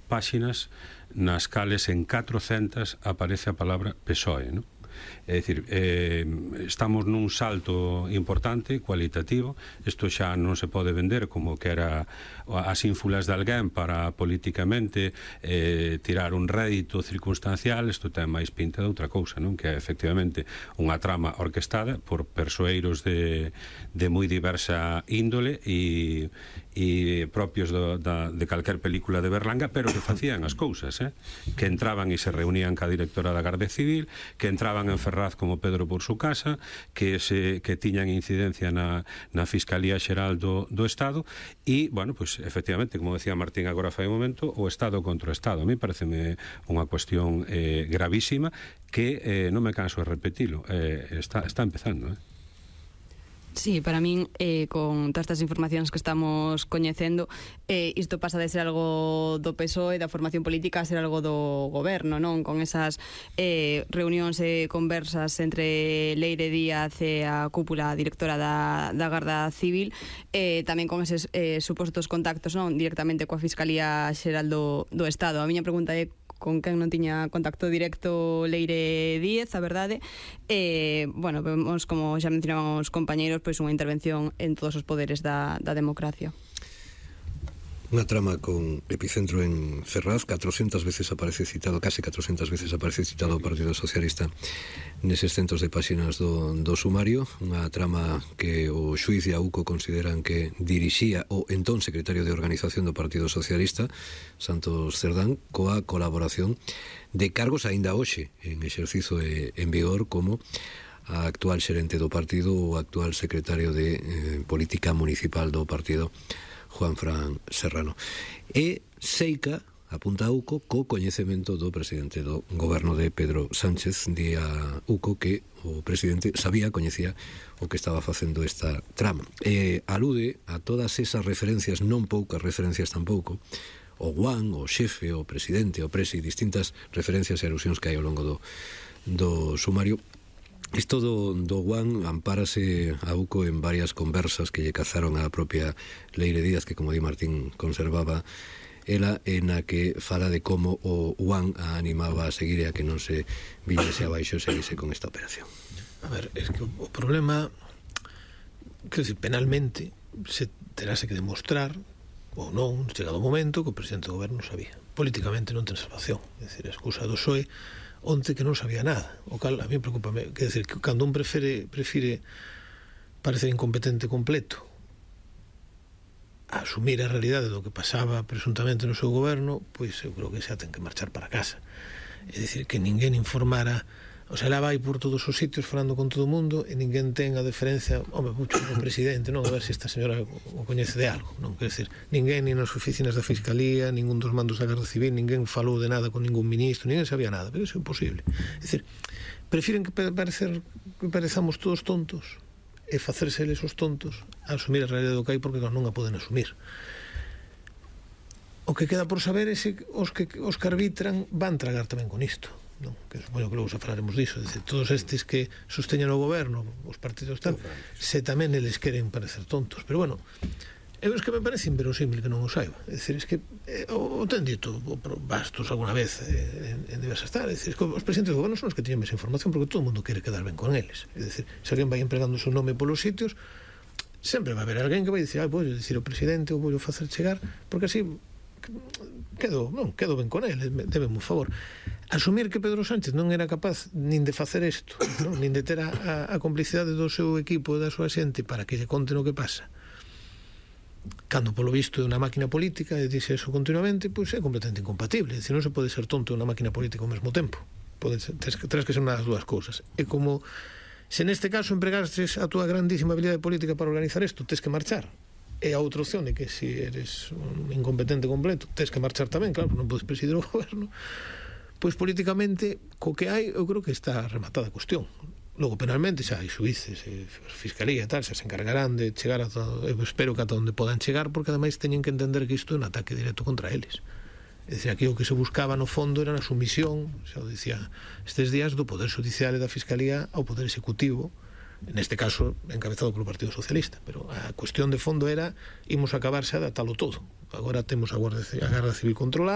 páxinas nas cales en 400 aparece a palabra PSOE, non? É dicir, estamos nun salto importante, cualitativo. Isto xa non se pode vender como que era as ínfulas de alguén para políticamente tirar un rédito circunstancial. Isto ten máis pinta de outra cousa, non? Que é efectivamente unha trama orquestada por persoeiros de moi diversa índole e propios de calquer película de Berlanga, pero que facían as cousas, que entraban e se reunían ca directora da Garda Civil, que entraban en Ferraz como Pedro por su casa, que tiñan incidencia na Fiscalía Xeral do Estado e, bueno, pues efectivamente, como decía Martín agora fai un momento, o Estado contra o Estado. A mí pareceme unha cuestión gravísima que non me canso de repetilo, está empezando, Sí, para min, con todas estas informacións que estamos coñecendo, isto pasa de ser algo do PSOE, da formación política, a ser algo do goberno, non? Con esas reunións e conversas entre Leire Díaz e a cúpula directora da Garda Civil, tamén con eses supostos contactos, non? Directamente coa Fiscalía Xeral do Estado. A miña pregunta é con quen non tiña contacto directo Leire Díaz, a verdade. Bueno, vemos, como xa mencionaban os compañeiros, pois unha intervención en todos os poderes da democracia. Unha trama con epicentro en Ferraz, 400 veces aparece citado, case 400 veces aparece citado o Partido Socialista neses centos de páxinas do sumario. Unha trama que o xuiz e a UCO consideran que dirixía o entón secretario de Organización do Partido Socialista, Santos Cerdán, coa colaboración de cargos aínda hoxe en exercizo en vigor, como a actual xerente do partido ou o actual secretario de Política Municipal do partido, Juanfran Serrano. E Seica apunta a UCO co coñecemento do presidente do goberno de Pedro Sánchez. Di a UCO que o presidente coñecía o que estaba facendo esta trama. Alude a todas esas referencias, non poucas referencias tampouco, o Juan, o xefe, o presidente, o presi, distintas referencias e alusións que hai ao longo do sumario. Isto do Juan ampárase a UCO en varias conversas que lle cazaron a propia Leire Díaz, que, como di Martín, conservaba ela, en a que fala de como o Juan a animaba a seguir e a que non se viñese abaixo e seguise con esta operación. A ver, es que o problema, quero dicir, penalmente se terase que demostrar ou non, chegado o momento, que o presidente do goberno sabía. Políticamente non ten salvación. É dicir, a excusa do PSOE onte que non sabía nada, o cal a mí preocupame, quer dizer, que cando un prefire parecer incompetente completo a asumir a realidade do que pasaba presuntamente no seu goberno, pois eu creo que xa ten que marchar para casa. É dicir, que ninguén informara, o sea, ela vai por todos os sitios falando con todo o mundo e ninguén ten a deferencia, home, mucho o presidente, non, a ver se esta señora o coñece de algo, non, quer dizer, ninguén, ni nas oficinas da Fiscalía, ningún dos mandos da Garda Civil, ninguén falou de nada con ningún ministro, ninguén sabía nada, pero iso é imposible. É dicir, prefiren que parezamos todos tontos e facerse eles os tontos a asumir a realidade do que hai, porque non a poden asumir. O que queda por saber é se os que arbitran van tragar tamén con isto, non? Que supoño que logo xa falaremos diso. Dice, todos estes que sosteñen o goberno, os partidos tal, se tamén eles queren parecer tontos, pero bueno, é que me parece inverosímil que non o saiba. É dicir, es que o ten dito Bastos alguna vez en diversas tal, é dicir, que os presidentes do goberno son os que teñen máis información, porque todo o mundo quere quedar ben con eles. É dicir, se alguén vai empregando o seu nome polos sitios, sempre vai haber alguén que vai dicir, vou dicir o presidente ou vou facer chegar, porque así quedo ben con ele, debeme un favor. Asumir que Pedro Sánchez non era capaz nin de facer isto, non? Nin de ter a complicidade do seu equipo e da súa xente para que lle conten o que pasa, cando polo visto é unha máquina política, e dixe eso continuamente, pois é completamente incompatible. É dicir, non se pode ser tonto e unha máquina política ao mesmo tempo. Terás que ser unha das dúas cousas. É como se neste caso empregastes a túa grandísima habilidade política para organizar isto, tes que marchar. E a outra opción é que se eres un incompetente completo, tes que marchar tamén, claro, non podes presidir o goberno. Pois políticamente, co que hai, eu creo que está rematada a cuestión. Logo, penalmente, xa hai xuíces, fiscalía e tal, xa se encargarán de chegar a todo, eu espero que ata onde podan chegar, porque ademais teñen que entender que isto é un ataque directo contra eles. É dicir, aquí o que se buscaba no fondo era a sumisión, xa o dicía estes días, do Poder Judicial e da Fiscalía ao Poder Executivo, neste caso encabezado polo Partido Socialista, pero a cuestión de fondo era imos acabar xa de atalo todo. Agora temos a Garda Civil controlada,